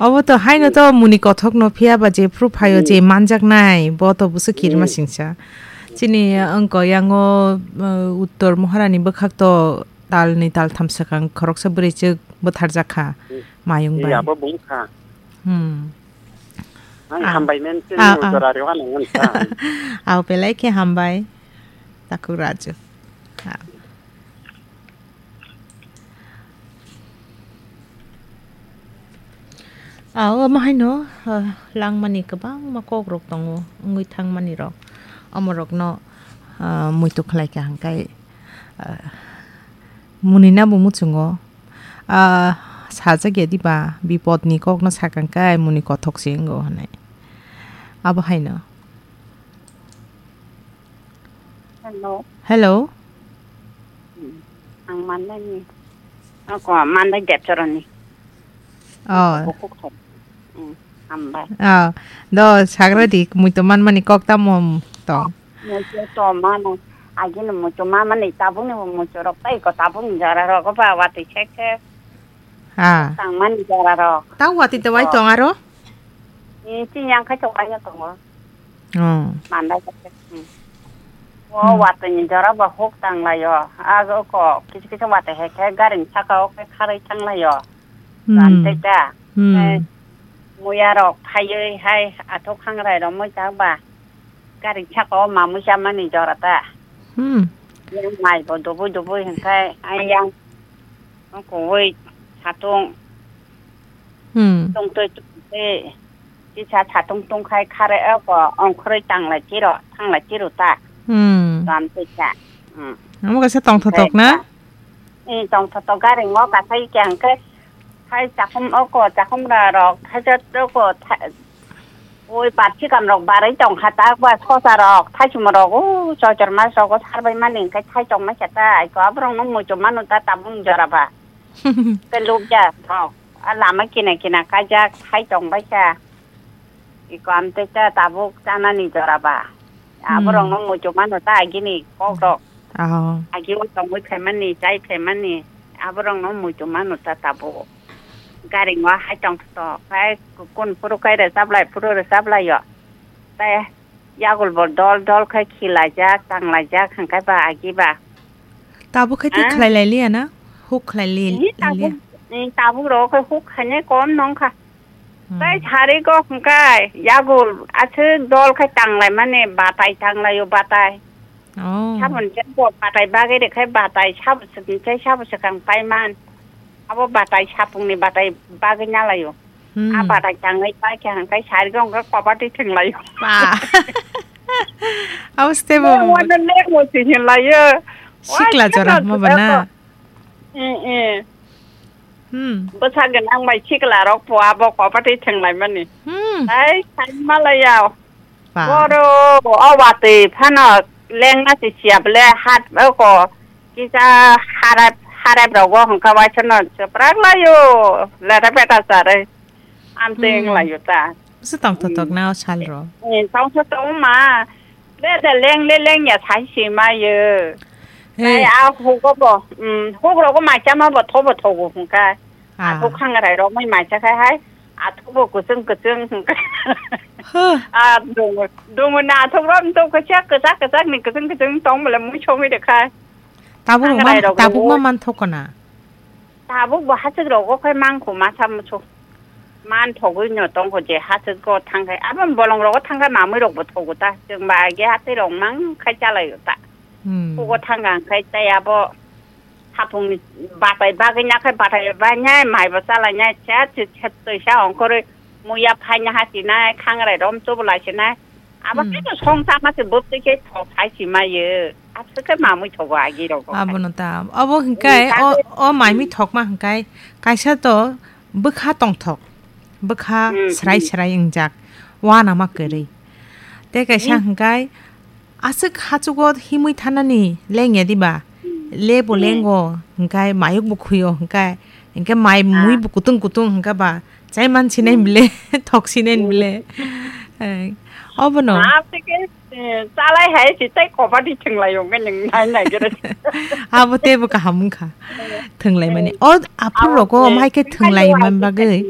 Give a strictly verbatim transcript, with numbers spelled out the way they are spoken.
Obo to haino to muni kothok no phiya ba je phru phaio je manjaknai, bo to buso kirima Hmm. singsa. Chini wngko yango, uh, Uttor Moharani bwkhak to tal ni tal tham swkang khoroksa bwrwi chwk bwtharjak kha Hmm. mayung Iya, bai. Abo bung kha. Hmm. Ang Ah. hambai men chini Ah, ah. Uttor Ari wano ngan kha. Au belai khe hambai. Takhuk Raju. Ah. Ah, omo haino, ah, langmani kwbangma kokrok tongo, wngwi thangmani rok. Omorokno, ah, muitu khlai kha hwnkhai, ah, munina bo muchungo, ah, sajak ya diba, bipodni kokno sakha hwnkhai muni kothok se wngo hwnwi. Abo haino. Hello. Hello. Hmm. Ang Mandai ni. Ako, Mandai Debchoroni. Oh. Bukuk thai. Hmm. Hambai. Oh. Do sagra di, muitu manmani kok tamo tong. Muitu to mano. Agini muitu mamani tabukni muitu rok tai ko tabukni jora rok ba wati sek sek. Ah. Tangmani jora rok. Tang wati tawai tong aro? Ni chini yang khai tawai tongo. Oh. Mandai khe. Hmm. O Hmm. watwi ni jora bo huk tang laio. Ago ko kisu kisu watwi hai khe gari ni saka o khe kharwi thang laio. Hmm. Ram tei ta. Hmm. Tei muya rok phaiwi hai athuk khangrai rok mui chak ba. Gari ni saka o mamui cha mani jora ta. Hmm. Yang mai bo dubui dubui hwnkhe ai yang kuwi satung. Hmm. Tongtwi tongtwi kisa satung tongkhai khare oko ongkhorwi tanglai chiro, thanglai chiro ta. Hmm. Ram twi kha. Hmm. Amo kaisa tongthotok na? Tei ta. Eh, tongthotok gari ngo kathai khe hwnkhe hai chakhum oko chakhum ra rok thaijak oko tha-, oi parsi kam rok barwi tongkha ta ba sosa rok thaisum rok o choitor mas rok o sarbai mani hwnkhe thai tongmai khe ta ai ko aborok no muitu manu ta tabung jora ba. Tei lukya thok. A lama kina kina kaijak hai tong bai kha. Iko amtwi khe tabuk chanani jora ba. Aborok no muitu mano ta agini kok rok. Aho. Agi o tongwi phaimani, chai phaimani. Aborok no muitu mano ta tabuk. Gari ngo hai tong to. Hai kun phuru kai re chaplai, phuru re chaplai yo. Tei Yagul bo dol dol khai khilaijak, tanglaijak, hwnkhe ba agi ba. Tabuk khai twi khlai lai liya na? Huk khlai li-, Ni lai liya? Tabuk, ni tabuk rok khai huk khainai kom nong kha. Hmm. Tai sari go hwnkhe yagul aswk dol khai tanglai mani batai tanglaio batai. Oh. Saboni je bo batai bagwi rwkhai batai sabo swkang tei sabo swkang paiman. Abo batai sapungni batai bagwi nalaio. Hmm. A batai tangwi paikha hwnkhe sari go hwnkhe kobatwi thwnglaio. Ba. Abo stebo. Mo wano lemo se hinlaio. Sikla jora mo bana. Eh, eh. Hmm. Bwsa gwnang bai sikla rok po abo kobatwi thwnglaimani. Hmm. Ai, sai malaya. Ba. Boro, o watwi phano lengma se siya bole hat oko kisa harap, harap rogo hwnkha waisano chwprak laio, lera beta chare. Amteng Hmm. laio ta. Bwsa tongthotok Hmm. na o sal ro. Eh, tongthotok ma. Beta leng le leng ya sai se mayo. Hey. Tai a hugo bo, hmm, huk rogo ma chama bo thobo thogo hwnkha. Ah. Athuk khangrai rok mai mai cha khai hai. Athuk bo kuchung kuchung. Huh. Ah, dungu, dungu na athuk rom to kachak, kachak, kachak ni kuchung kuchung tong bole mui chongwi de khai. Tabuk Khangrai man, rok tabuk ma rok. Man thok na. Tabuk bo hachik rok o khai mang khu ma sam chu. Man thogwi no tong kho je hachik go thang khai. Abo bolong rok o thang khai mamui rok bo thogo ta. Chwng ba age hati rok mang khai chalai ta. Hmm. Hugo thang ang khai tai abo. Hapungni batai bagwi nakhai batai bainai, maibo chalainai, chet chet chet toisa ongkhorwi muya phaina hasinai, khangrai rom chobolasinai. Abo Hmm. khe song chama se bwtwi khe thok hai si mayo. Aswk khe mamui thogo agi rogo. Abono ta. Abo hwnkhe Hmm, o, o maimi thokma hwnkhe kaisa to bwkha tongthok. Bwkha Hmm, srai hmm. srai wngjak. Wana ma kwrwi. Tei kaisa Hmm. hwnkhe aswk hachugo himwi thanani lengya diba? Hmm. Lebo Hmm. lengo, hwnkhe mayuk bo khuyo, hwnkhe, hwnkhe mai Ah. mui bo kutung kutung, hwnkhe ba chai man sinai Hmm. bile, thok sinai Hmm. bile. Eh, obono. Ah, tei khe, eh, chalai hai si tei kobadi thwnglai wngkhe nwng nai nai gere. Abo teibo kaham wngkha. Thwnglai mani. Eh. O aphuru Abo, rogo eh, omhai khe hai thwnglai hai man hai bagwi.